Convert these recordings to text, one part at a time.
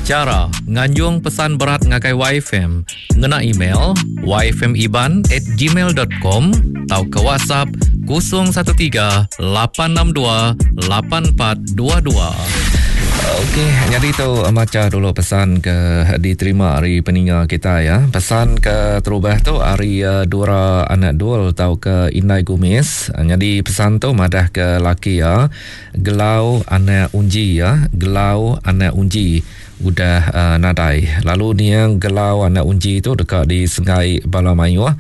Chara nganjung pesan berat ngagai YFM ngena email yfmiban at gmail dot com tauka WhatsApp 013 862 8422. Okey, nyadi tu macha dulu pesan ke diterima ari peninga kita ya. Pesan ke terubah tu ari eh, Dura Anak Dul tauka Indai Gumis. Nyadi pesan tu madah ke laki ya Gelau anak Unji ya, Gelau anak Unji udah uh, nadai. Lalu niang Gelau anak Unji tu deka disengai bala mayuh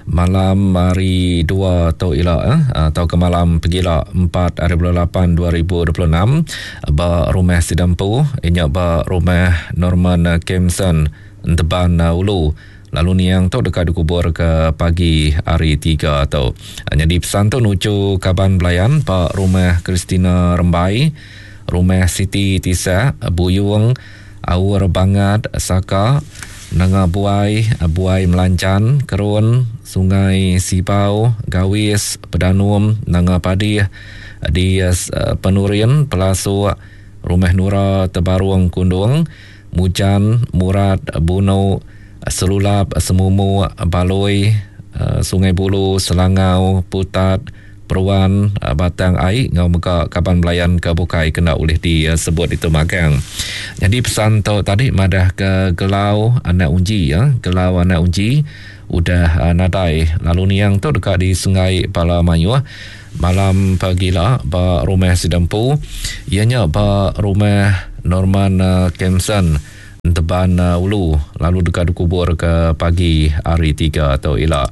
malam hari 2 tu ila eh, atau ke malam pegila 4 hari bulan 8 2026 ba rumah Sidampu inya ba rumah Norman Kemson Enteban Ulu. Lalu niang tu deka dikubur ke pagi hari Tiga tu. Nyadi pesan tu nuju kaban belayan ba Rumah Christina Rembai, Rumah Siti Tisak, Buyung, Aur Bangat, Saka, Nanga Buai, Buai Melanjan, Kerun, Sungai Sibau, Gawis, Pedanum, Nanga Padih, di Penurin, Pelasuk, Rumah Nura Tebarung Kundung, Mujan, Murat, Bunu, Selulap, Semumuk, Balui, Sungai Bulu, Selangau, Putat, Peruan, Batang Ai enggau mega kaban belayan ke bukai ke enda ulih disebut ditu magang. Nyadi pesan tu tadi madah ke Gelau anak Unji ya, Gelau anak Unji udah nadai lalu niang tu deka disenggai bala mayuh Malam pagila ba rumah sida empu iya nya ba rumah Norman Kemson Enteban Ulu lalu deka dikubur ke pagi hari Tiga tu ila.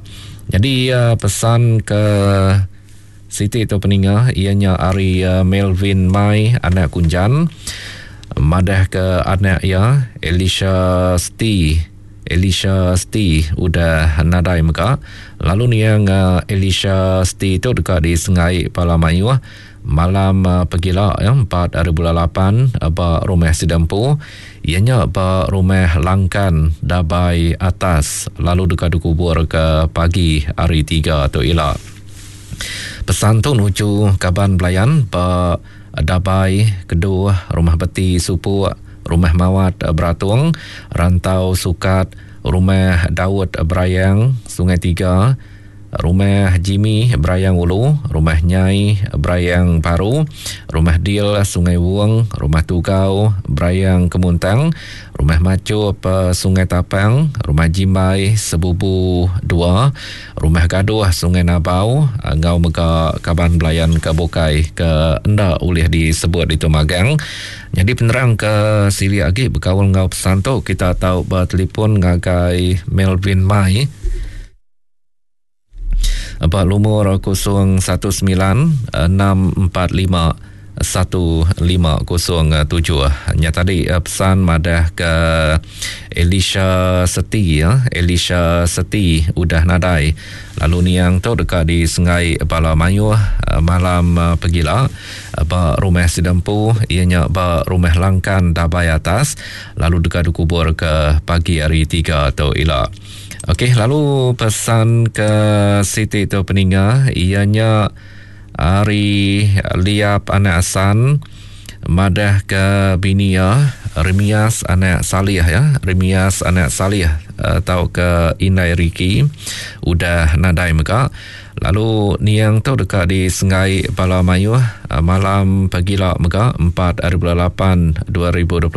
Nyadi pesan ke siti tu peninga iya nya ari Melvin Mai anak Kunjan madah ke anak iya Elisha Sti Elisha Sti udah nadai mega lalu niang Elisha Sti tu deka disengai bala mayuh malam pegila ya 4 hari bulan 8 ba rumah sida empu iya nya ba rumah Langkan Dabai Atas lalu deka dikubur ke pagi hari 3 tu ila. Pesan tu nuju kaban belayan ba Dabai, Keduh, Rumah Beti Supuk, Rumah Mawat Beratung, Rantau Sukat, Rumah Daud Berayang, Sungai Tiga, Rumah Jimmy Berayang Ulu, Rumah Nyai Berayang Baru, Rumah Dil Sungai Wong, Rumah Tugau Berayang Kemuntang, Rumah Machup Sungai Tapang, Rumah Jimbai Sebubu Dua, Rumah Gaduh Sungai Nabau enggau mega kaban belayan ke bukai ke enda ulih disebut ditu magang. Nyadi penerang ke silik agi bekaul enggau pesan tu kita tau betelefon ngagai Melvin Mai ba lumur 019 645 1507. Nya tadi eh, pesan madah ke Elisha Seti ya. Elisha Seti udah nadai. Lalu niang tu deka disengai bala mayuh eh, malam eh, pegila ba rumah sida empu iya nya ba rumah Langkan Dabai Atas lalu deka dikubur ke pagi hari 3 tu ila. Okey, lalu pesan ke Siti tu peninga iya nya Ari Liap anak Asan madah ke bini iya Remias anak Salih ya, Remias anak Salih eh, tauka Indai Riki udah nadai mega. Lalu niang tu deka disengai bala mayuh eh, malam pagila mega 4 hari bulan 8 2026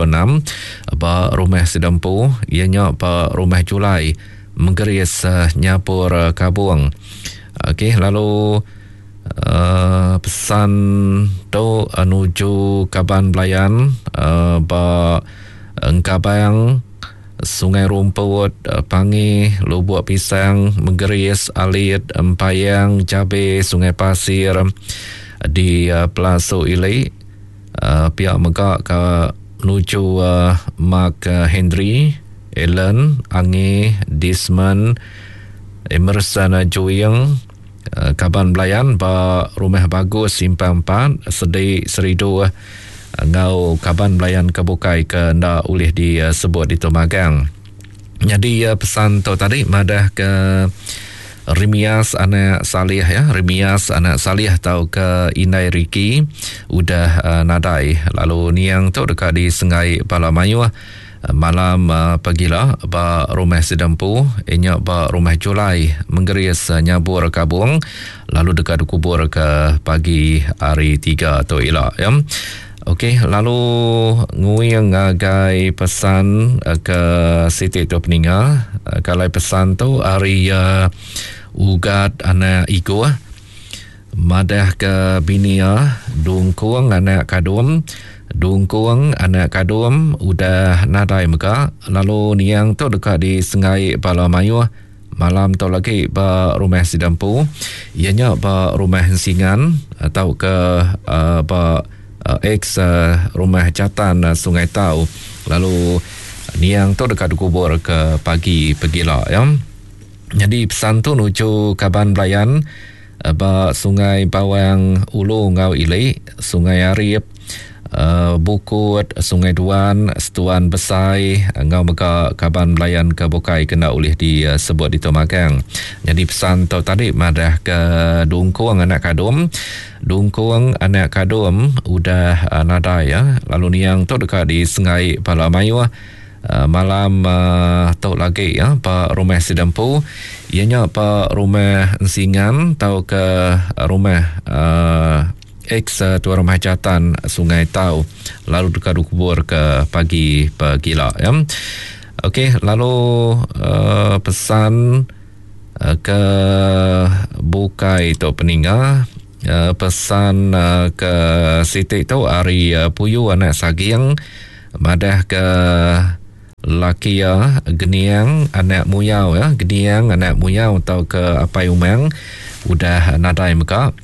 ba rumah sida empu iya nya ba rumah Julai Menggeris eh, Nyapur Kabung. Okey lalu uh, pesan tu uh, nuju kaban belayan uh, ba Engkabang Sungai Rumput, uh, Pangi, Lubuk Pisang, Menggeris, Alit, Empayang, Jabe, Sungai Pasir di uh, Pelasu Ili. Uh, pihak mega ke nuju uh, Mark Henry, Allen, Angi, Dismond, Emerson Juing, kaban belayan ba Rumah Bagus Simpang 4, Sedi Seridu enggau kaban belayan ke bukai ke enda ulih disebut ditu magang. Nyadi pesan tu tadi madah ke Remias anak Salih ya, Remias anak Salih tauka Indai Riki udah nadai lalu niang tu deka disengai bala mayuh. Malam pagila ba Rumah Sidempu inya ba Rumah Julai Menggeris Nyabur Kabong lalu deka dikubur ke pagi hari tiga tu ila ya. Okey lalu nguing ngagai pesan ke siti tu peninga kalai pesan tu ari Ugat anak Igoh Madah ke bini iya, Dungkung anak Kadum, Dungkung anak Kadum udah nadai mega lalu niang tu deka disenggai bala mayuh malam tu lagi ba rumah sida empu iya nya ba Rumah Ensingan tauka ba ex Rumah Jatan Sungai Tau lalu niang tu deka dikubur ke pagi pegila iya. Nyadi pesan tu nuju kaban belayan ba Sungai Bawang Ulu enggau Ili, Sungai Arip, Bukut, Sungai Duan, Setuan Besai enggau mega kaban belayan ke bukai ke enda ulih disebut ditu magang. Nyadi pesan tu tadi madah ke Dungkung anak Kadum, Dungkung anak Kadum udah nadai lalu niang tu deka disengai bala mayuh. Malam tu lagi ya ba rumah sida empu iya nya ba rumah Ensingan tauka rumah ex tuan rumah jatan Sungai Tau lalu deka dikubur ke pagi pegila ya. Okey lalu pesan ke bukai tu peninga pesan ke siti tu ari Puyu anak Saging. Madah ke laki iya Geniang anak Muyau ya, Geniang anak Muyau tauka Apai Umang udah nadai mega.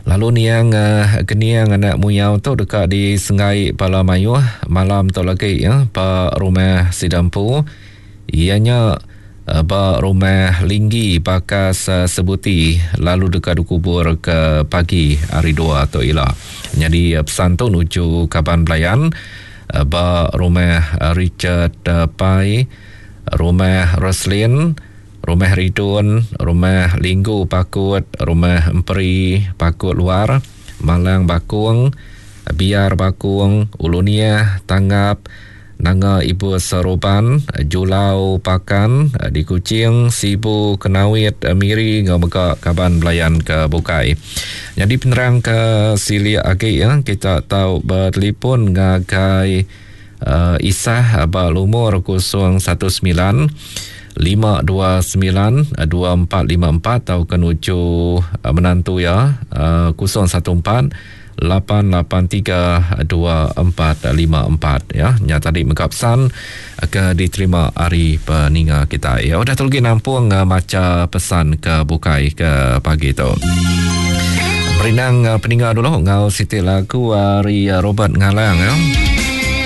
Lalu niang Geniang anak Muyau tu deka disenggai bala mayuh malam tu lagi ya ba rumah sida empu iya nya ba rumah Linggi Bakas Sebuti lalu deka dikubur ke pagi hari dua tu ila. Nyadi pesan tu nuju kaban belayan ba rumah Richard Pai, rumah Roslin, rumah Ridun, rumah Linggu Pakut, rumah Emperi Pakut Luar, Malang Bakong, Biar Bakong, Ulu Niah, Tangap, Nanga Ibus Roban, Julau Pakan, di Kuching, Sibu, Kenawit, Miri enggau mega kaban belayan ke bukai. Nyadi penerang ke silik agi ya, kita tau betelefon ngagai uh, Isah ba lumur 019 529 2454 tauka nuju menantu iya uh, 014 8832454 ya. Nya tadi mega pesan ke diterima ari peninga kita. Ya udah tu lagi nampung eh, macha pesan ke bukai ke pagi tu. Merindang eh, peninga dulu ngau siti lagu ari eh, Robert Ngalang ya.